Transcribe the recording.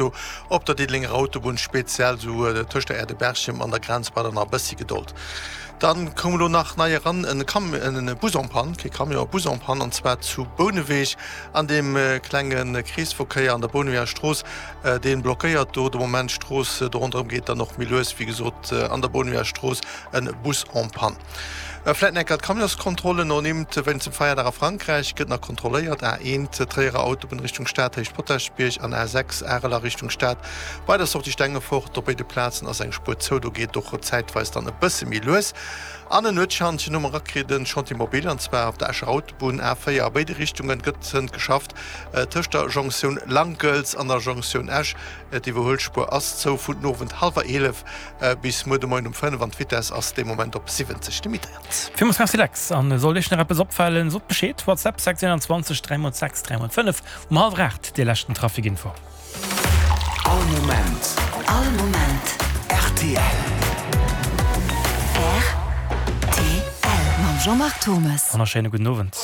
do op der Diddelenger Autobunn, speziell sou tëscht der Aire de Berchem an der Grenz bei der nach e bëssi Gedold. Dann koum elo nach nei eran en Cam en Bus en panne, kee Camion, e Bus en panne, an zwar zu Bouneweg an deem klenge Kreesverkéier an der Bouneweger Strooss. Deen blockéiert do de Moment d'Strooss. Do ronderëm geet dann och méi lues, wéi gesot, an der Bounewger Strooss en Bus en panne. Vläit nach eng Kéier d'Camionskontrollen ernimmt. Wéinst dem Feierdag a Frankräich gëtt nach kontrolléiert. A1 Tréierer Autobunn Richtung Stad, Héicht Potaschbierg an A6 Arel a Richtung Stad bei der Sortie Stengefort. Op béide Plazen ass eng Spuer zou, do geet et och zäitweis dann e bësse méi lues. An en Nuetschantjen hu mer erakritt, en Chantier mobile, an zwar op der Escher Autobunn A4 a béide Richtungen gëtt hënt geschafft. Tëscht der Jonktioun Lankels an der Jonktioun Esch. D'Iwwerhuelspuer ass zou vun den Owend hallwer 11 bis muer de Moien um 5 an d'Vitess ass dee Moment op 70 limitéiert. Villmools Merci Lex, an sollt Iech nach eppes opfalen, sot Bescheed, WhatsApp 621 3 x 6 3 x 5 um hallwer 8 déi leschten Traficinfo. All Moment. All Moment. Rtl. Rtl. Mam Jean-Marc Thommes. Wonnerschéine gudden Owend.